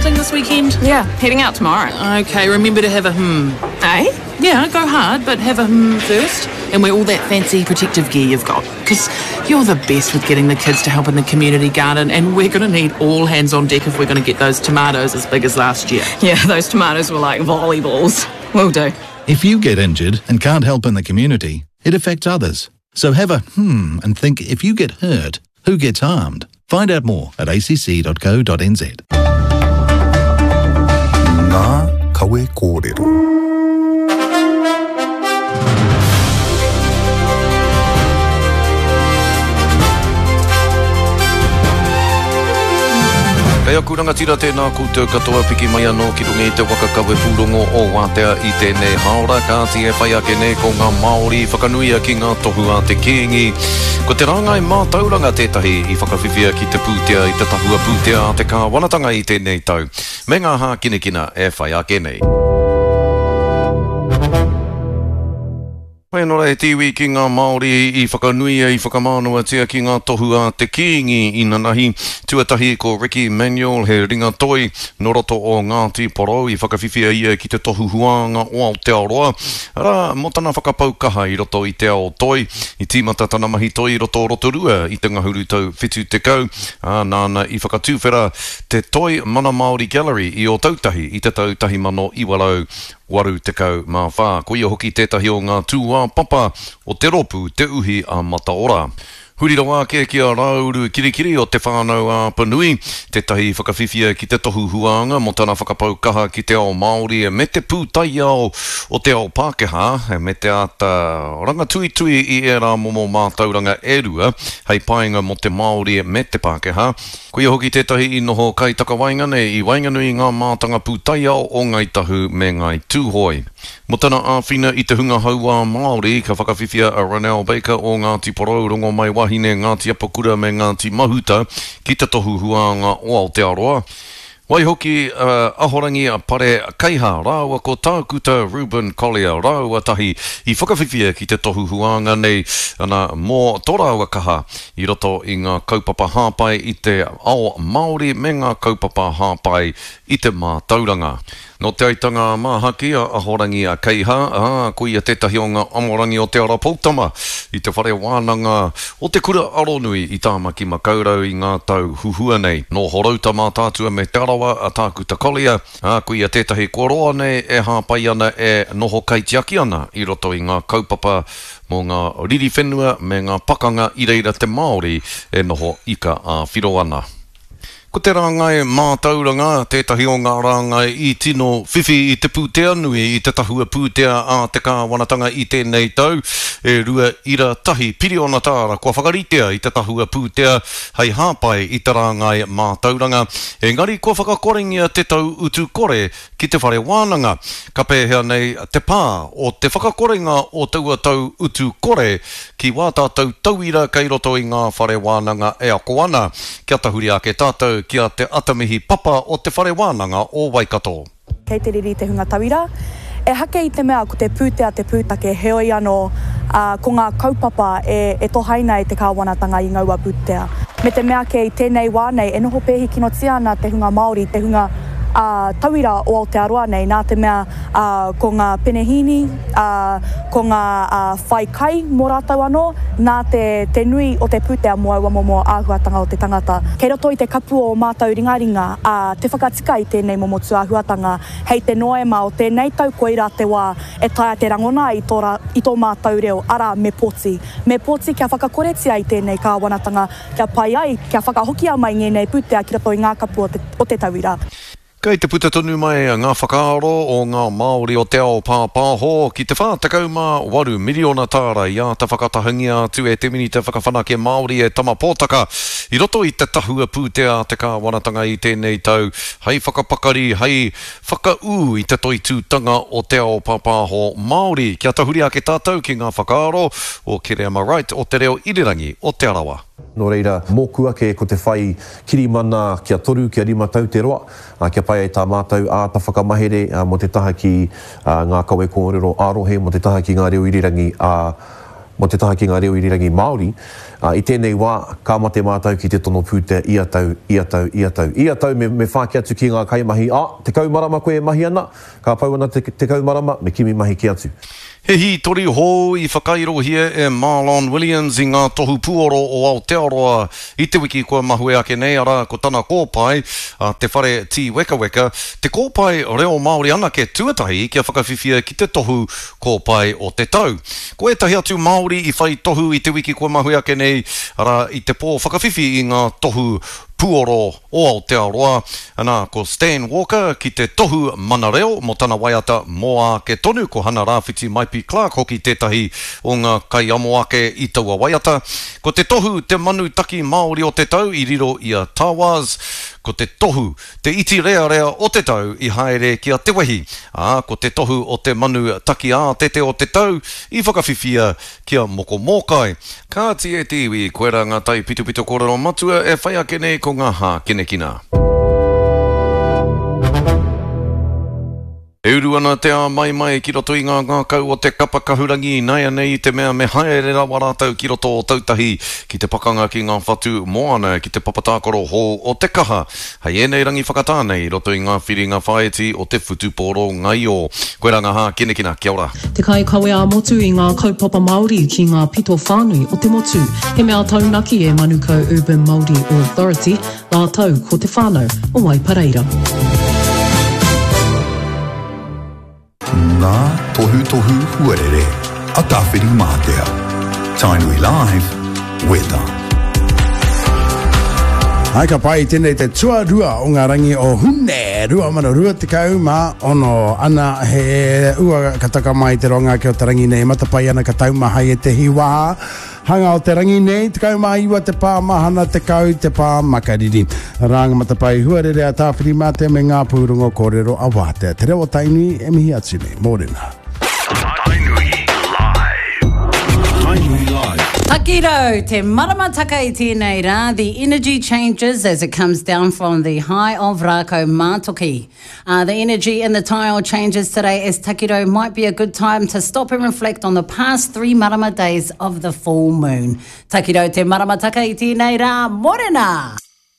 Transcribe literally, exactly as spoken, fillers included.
cycling this weekend? Yeah, heading out tomorrow. Okay, remember to have a hmm. Eh? Yeah, go hard, but have a hmm first. And wear all that fancy protective gear you've got. Because you're the best with getting the kids to help in the community garden, and we're going to need all hands on deck if we're going to get those tomatoes as big as last year. Yeah, those tomatoes were like volleyballs. Will do. If you get injured and can't help in the community, it affects others. So have a hmm and think if you get hurt, who gets harmed? Find out more at A C C dot co dot N Z. Ngā kawe kōrero. Kei aku rangatira, tēnā koutou katoa, piki mai anō ki runga i te waka kawe pūrongo o Wātea i tēnei haora. Kāti, e whai ake nei ko ngā Māori whakanuia ki ngā tohu a te Kīngi. Ko te rāngai mātauranga tētahi i whakawhiwhia ki te pūtea i te tahua pūtea a te kāwanatanga i tēnei tau. Me ngā hākinakina e whai ake nei. Whenora e te iwi ki ngā Māori i whakanuia, i whakamānawatia ki ngā tohu a te Kīngi inanahi. Tuatahi ko Ricky Manuel, he ringa toi no roto o Ngāti Porou, i whakawhiwhia ia ki te tohu huānga o Aotearoa. Arā, mō tana whakapau kaha i roto i te ao toi. I tīmata tana mahi toi i roto o Rotorua i te ngahuru tau whitu tekau. Ā, nāna i whakatūwhera te Toi Mana Māori Gallery i Ōtautahi i te tau tahi mano iwa rau waru tekau mā whā. Ko ia hoki tētahi o ngā tūāpapa o te rōpū Te Uhi a Mataora. Huri rawa ake ki a Rāuru Kirikiri o Te Whānau a Apanui, tētahi whakawhiwhia ki te tohu huānga mō tana whakapau kaha ki te ao Māori me te pūtaiao o te ao Pākehā, me te āta rangatuitui i ērā momo mātauranga e rua hei painga mō te Māori me te Pākehā. Ko ia hoki tētahi i noho kaitakawaenga nei i waenganui i ngā mātanga pūtaiao o Ngāi Tahu me Ngāi Tūhoe. Mō tana āwhina i te hunga hauā Māori, ka whakawhiwhia a Ronell Baker o Ngāti Porou, Rongomaiwahine, Ngāti Apakura me Ngāti Mahuta ki te tohu huānga o Aotearoa. Waihoki uh, Ahorangi a Pare Keiha rāua ko Tākuta Reuben Collier rāua tahi i whakawhiwhia ki te tohu huānga nei, ana, mō tō rāua kaha i roto i ngā kaupapa hāpai i te ao Māori me ngā kaupapa hāpai i te mātauranga. Nō Te Aitanga a Māhaki a Ahorangi a Keiha, ā, ko ia tētahi o ngā amorangi o Te Ara Poutama i te whare wānanga o te Kura Aronui i Tāmaki Makaurau i ngā tau huhua nei. Nō Horouta, Mātaatua me Te Arawa a Tākuta Collier, ā, ko ia tētahi kua roa nei e hāpai ana, e noho kaitiaki ana i roto i ngā kaupapa mō ngā riri whenua me ngā pakanga i reira te Māori e noho ika ā-whiro ana. Ko te rāngai mātauranga tētahi o ngā rāngai i tino whiwhi i te pūtea nui i te tahua pūtea a te kāwanatanga i tēnei tau. E rua ira tahi piriona tāra kua whakaritea i te tahua pūtea hei hāpai i te rāngai mātauranga. Engari kua whakakorengia te tau utu kore ki te whare wānanga. Ka pēhea nei te pā o te whakakorenga o taua tau utu kore ki wā tātou tauira kei roto i ngā whare wānanga e ako ana? Kia tahuri ake tātou ki a Te Atamihi Papa o Te Whare Wānanga o Waikato. Kei te riri te hunga tauira. Ehake i te mea ko te pūtea te pūtake, heoi anō, ā, ko ngā kaupapa e, e tohaina e te kāwanatanga i ngaua pūtea. Me te mea kē i tēnei wā nei e noho pēhi kinotia ana te hunga Māori, te hunga, ā, tauira o Aotearoa nei, nā te mea, ā, ko ngā penehīni, ā, ko ngā, ā, whai kai mō rātou anō, nā te, te nui o te pūtea mō aua momo āhuatanga o te tangata. Kei roto i te kapu o ō mātou ringaringa, ā, te whakatika i tēnei momo tūāhuatanga. Hei te Noema o tēnei tau koirā te wā e taea te rangona ai tō rā, i tō mātou reo, arā, me pōti. Me pōti kia whakakoretia i tēnei kāwanatanga, kia pai ai, kia whakahokia mai ngēnei pūtea ki roto i ngā kapu o te, o te tauira. Kei te puta tonu mai ngā whakaaro o ngā Māori o te ao pāpāho ki te whā tekau mā waru miriona tāra i āta whakatahangia atu e te Minita Whakawhanake Māori e Tama Pōtaka i roto i te tahua pūtea a te kāwanatanga i tēnei tau hei whakapakari, hei whakaū i te toitūtanga o te ao pāpāho Māori. Kia tahuri ake tātou ki ngā whakaaro o Kereama Wright o Te Reo Irirangi o Te Arawa. Nō reira, mōku ake ko te whai kirimana kia toru, kia rima tau te roa, kia pai ai tā mātou āta whakamahere mō te taha ki ngā kawe kōrero ā-rohe, mō te taha ki ngā reo irirangi ā Mō te taha ki ngā reo irirangi Māori, i tēnei wā, ka mate mātou ki te tono pūtea ia tau, ia tau, ia tau. Ia tau me, me whāki atu ki ngā kaimahi, ā, tekau marama koe e mahi ana, ka pau ana te tekau marama, me kimi mahi kē atu. He hītori hou i whakairohia e Marlon Williams i ngā tohu puoro o Aotearoa i te wiki kua mahue ake nei, arā, ko tana kōpae, a Te Whare Tīwekaweka, te kōpae reo Māori anake tuatahi kia whakawhiwhia ki te tohu kōpae o te tau. Ko ētahi atu Māori i whai tohu i te wiki kua mahue ake nei, arā, i te pō whakawhiwhi i ngā tohu puoro o Aotearoa, anā, ko Stan Walker ki te tohu mana reo mō tana waiata Mō Ake Tonu, ko Hana Rāwhiti Maipi Clarke hoki tētahi o ngā kaiamo ake i taua waiata. Ko te tohu Te Manu Taki Māori o te Tau i riro i a Tawaz, ko te tohu Te Iti Rearea o te Tau i haere ki a Te Wehi, ā, ko te tohu o Te Manu Taki Ātete o te Tau i whakawhiwhia ki a Moko Mōkai. Kāti e te iwi, koirā ngā taipitopito kōrero matua e whai ake nei ko ngā hākinakina. E uru ana te āmaimai ki roto i ngā ngākau o te kapa kahurangi ināianei i te mea me haere rawa rātou ki roto o Tautahi ki te pakanga ki ngā whatu moana ki te papa tākaro hou o Te Kaha hei ēnei rangi whakatā nei i roto i ngā whiringa whāiti o te whutupōro ngaio. Koirā ngā hākinakina. Kia ora. Te kaikawe ā-motu i ngā kaupapa Māori ki ngā pito whānui o te motu. He mea taunaki e Manukau Urban Māori Authority rātou ko te whānau o Waipareira. Ngā tohutohu huarere a Tāwhirimātea. Tainui Live, Weather. Hai ka pai tēnei te tuarua o ngā rangi o Hune, rua mano rua tekau mā ono. Ana he ua ka taka mai te roanga ake o te rangi nei, matapai ana ka taumaha i ētehi wā. Hanga o te rangi nei, tekau mā iwa te pā mahana, tekau te pā makariri. Rānga matapai huarere a Tāwhirimātea me ngā pūrongo kōrero a Wātea. Te reo o Tainui e mihi atu nei. Mōrena. Tainui Live. Tainui Live. Takirau, te maramataka i tēnei rā, the energy changes as it comes down from the high of Rākau Mātoki. Uh, the energy in the tile changes today as Takirau might be a good time to stop and reflect on the past three marama days of the full moon. Takirau, te maramataka i tēnei rā, morena!